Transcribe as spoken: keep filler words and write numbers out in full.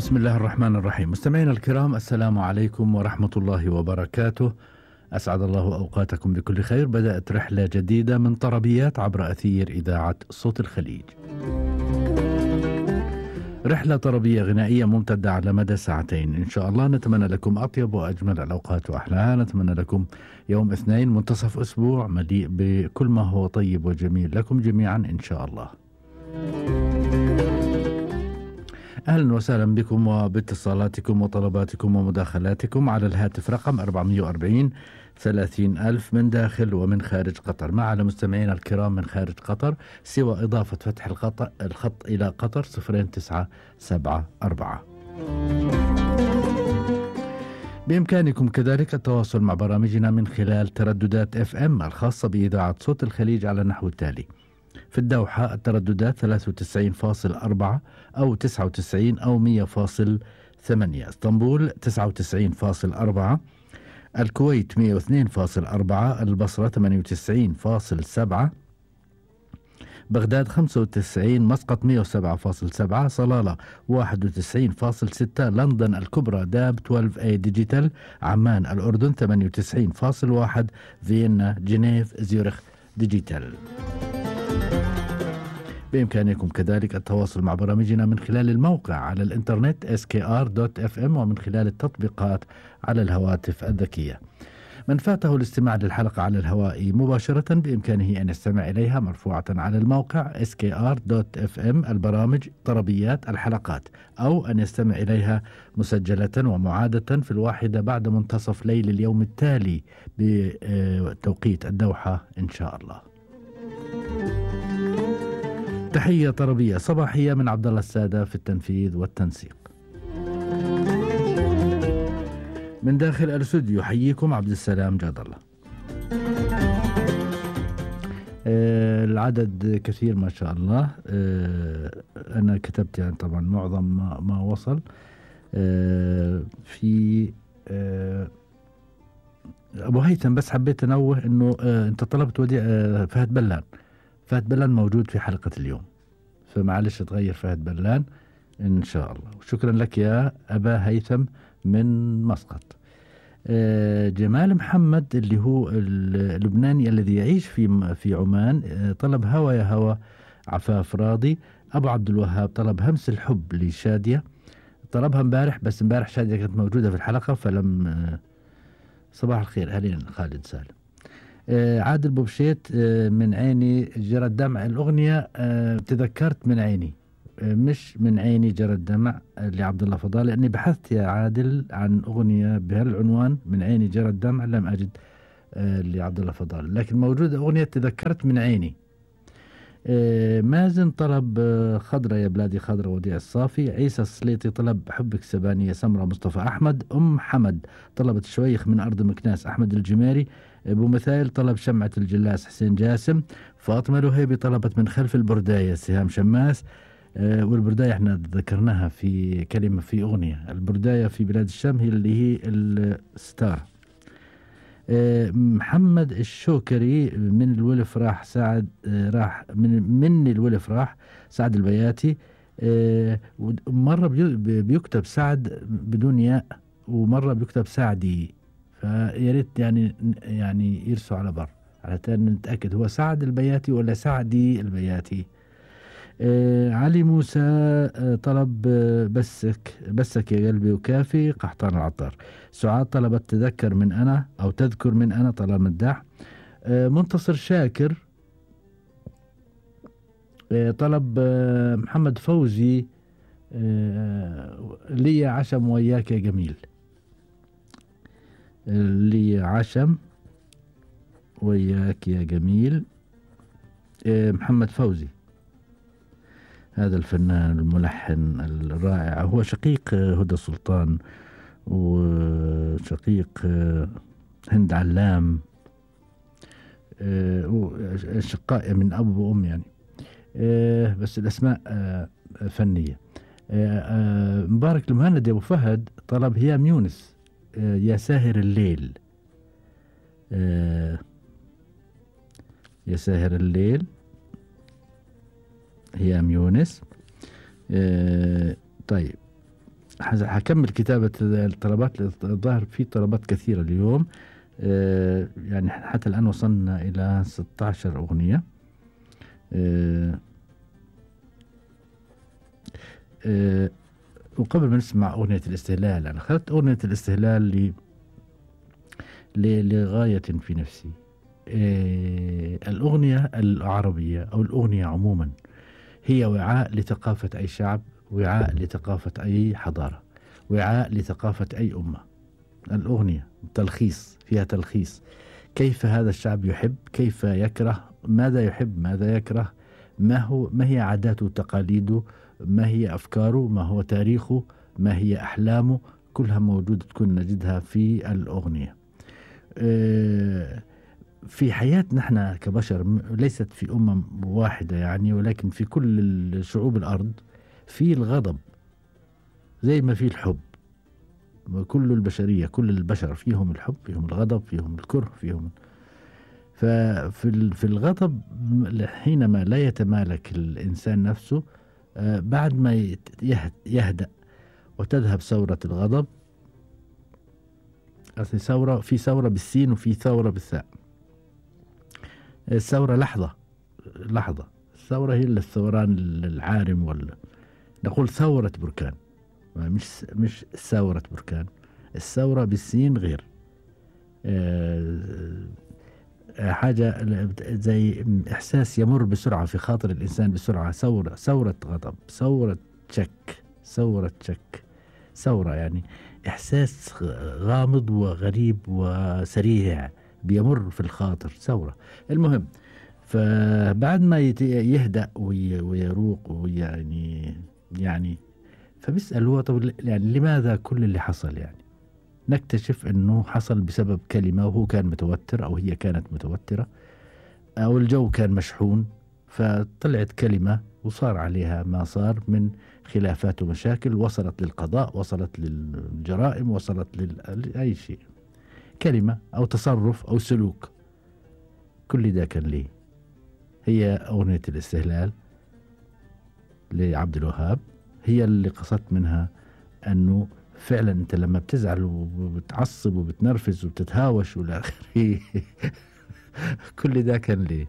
بسم الله الرحمن الرحيم. مستمعينا الكرام، السلام عليكم ورحمة الله وبركاته. أسعد الله أوقاتكم بكل خير. بدأت رحلة جديدة من طربيات عبر أثير إذاعة صوت الخليج، رحلة طربية غنائية ممتدة على مدى ساعتين إن شاء الله. نتمنى لكم أطيب وأجمل الأوقات وأحلاها. نتمنى لكم يوم اثنين منتصف أسبوع مليء بكل ما هو طيب وجميل لكم جميعا إن شاء الله. أهلا وسهلا بكم وباتصالاتكم وطلباتكم ومداخلاتكم على الهاتف رقم أربعمئة وأربعين ثلاثين ألف من داخل ومن خارج قطر، مع على مستمعينا الكرام من خارج قطر سوى إضافة فتح الخط, الخط إلى قطر صفرين تسعة سبعة أربعة. بإمكانكم كذلك التواصل مع برامجنا من خلال ترددات اف ام الخاصة بإذاعة صوت الخليج على النحو التالي: في الدوحة الترددات ثلاثة وتسعين فاصل أربعة أو تسعة وتسعين أو مئة فاصل ثمانية، اسطنبول تسعة وتسعين فاصل أربعة، الكويت مئة واثنين فاصل أربعة، البصرة ثمانية وتسعين فاصل سبعة، بغداد خمسة وتسعين، مسقط مئة وسبعة فاصل سبعة، صلالة واحد وتسعين فاصل ستة، لندن الكبرى داب اثناشر اي ديجيتال، عمان الأردن ثمانية وتسعين فاصل واحد، فيينا جنيف زيورخ ديجيتال. بإمكانكم كذلك التواصل مع برامجنا من خلال الموقع على الإنترنت إس كي آر دوت إف إم ومن خلال التطبيقات على الهواتف الذكية. من فاته الاستماع للحلقة على الهواء مباشرة بإمكانه أن يستمع إليها مرفوعة على الموقع إس كي آر دوت إف إم البرامج طربيات الحلقات، أو أن يستمع إليها مسجلة ومعادة في الواحدة بعد منتصف ليل اليوم التالي بتوقيت الدوحة إن شاء الله. تحية طربية صباحية من عبد الله السادة في التنفيذ والتنسيق. من داخل الاستوديو يحييكم عبد السلام جاد الله. آه العدد كثير ما شاء الله. آه أنا كتبت يعني طبعا معظم ما, ما وصل. آه في آه أبو هيثم، بس حبيت أنوه أنه آه أنت طلبت وديع آه فهد بلان. فهد بلان موجود في حلقة اليوم، فمعلش تغير فهد بلان إن شاء الله. وشكرا لك يا أبا هيثم من مسقط. آه جمال محمد اللي هو اللبناني الذي يعيش في في عمان آه طلب هوا يا هوا عفاف راضي. أبو عبد الوهاب طلب همس الحب لشادية، طلبها امبارح بس امبارح شادية كانت موجودة في الحلقة فلم. آه صباح الخير أهلين خالد سالم. آه عادل بوبشيت آه من عيني جرى الدمع، الأغنية آه تذكرت من عيني آه مش من عيني جرى الدمع آه لعبد الله فضال، لأني بحثت يا عادل عن أغنية بهالعنوان من عيني جرى الدمع لم أجد آه لعبد الله فضال، لكن موجودة أغنية تذكرت من عيني. آه مازن طلب آه خضرة يا بلادي خضرة وديع الصافي. عيسى السليطي طلب حبك سبانية سمرة مصطفى أحمد. أم حمد طلبت شويخ من أرض مكناس أحمد الجميري. أبو مثال طلب شمعة الجلاس حسين جاسم. فاطمة الوهيبي طلبت من خلف البرداية سهام شماس. أه والبرداية احنا ذكرناها في كلمة في أغنية. البرداية في بلاد الشام هي اللي هي الستار. أه محمد الشوكري من الولف راح سعد أه راح من من الولف راح سعد البياتي. أه مرة بيكتب سعد بدون ياء ومرة بيكتب سعدي، فيا ريت يعني يعني يرسوا على بر على نتأكد هو سعد البياتي ولا سعدي البياتي. آه علي موسى آه طلب آه بسك بسك يا قلبي وكافي قحطان العطار. سعاد طلبت تذكر من أنا أو تذكر من أنا طلال مداح. آه منتصر شاكر آه طلب آه محمد فوزي آه لي عشم وياك يا جميل. لي عشم وياك يا جميل. آه محمد فوزي هذا الفنان الملحن الرائع، هو شقيق هدى سلطان وشقيق هند علام، شقاء من أب وأم يعني، بس الأسماء فنية. مبارك المهند أبو فهد طلب هيام يونس يا ساهر الليل. يا ساهر الليل هيام يونس. آه طيب حز- حكمل كتابة الطلبات. الظاهر في طلبات كثيرة اليوم. آه، يعني حتى الآن وصلنا إلى ستة عشر أغنية. آه، آه، وقبل ما نسمع أغنية الاستهلال، أنا أخذت أغنية الاستهلال ل- ل- لغاية في نفسي. آه، الأغنية العربية أو الأغنية عموما هي وعاء لثقافة أي شعب، وعاء لثقافة أي حضارة، وعاء لثقافة أي أمة. الأغنية تلخيص، فيها تلخيص كيف هذا الشعب يحب، كيف يكره، ماذا يحب، ماذا يكره، ما هو ما هي عاداته وتقاليده، ما هي أفكاره، ما هو تاريخه، ما هي أحلامه، كلها موجودة تكون نجدها في الأغنية. آه، في حياتنا احنا كبشر، م- ليست في أمم واحدة يعني، ولكن في كل ال- شعوب الأرض في الغضب زي ما في الحب. كل البشرية، كل البشر فيهم الحب، فيهم الغضب، فيهم الكره، فيهم. ففي ال- في الغضب م- حينما لا يتمالك الإنسان نفسه، آه، بعد ما يت- يهد- يهدأ وتذهب ثورة الغضب. أصل ثورة، في ثورة بالسين وفي ثورة بالثاء. الثورة لحظة، لحظة. الثورة هي اللي الثوران العارم، ولا نقول ثورة بركان، مش مش ثورة بركان. الثورة بالسين غير. آه، آه، حاجة زي إحساس يمر بسرعة في خاطر الإنسان بسرعة. ثورة، ثورة غضب، ثورة شك، ثورة شك، ثورة يعني إحساس غامض وغريب وسريع بيمر في الخاطر، ثورة. المهم، فبعد ما يت- يهدأ وي- ويروق ويعني يعني فبيسأل هو طب يعني لماذا كل اللي حصل؟ يعني نكتشف انه حصل بسبب كلمة، وهو كان متوتر او هي كانت متوترة او الجو كان مشحون، فطلعت كلمة وصار عليها ما صار من خلافات ومشاكل، وصلت للقضاء، وصلت للجرائم، وصلت لأي شيء. كلمة او تصرف او سلوك، كل ده كان ليه. هي أغنية الاستهلال لعبد الوهاب هي اللي قصدت منها أنه فعلا أنت لما بتزعل وبتعصب وبتنرفز وبتتهاوش والى آخره كل ده كان ليه.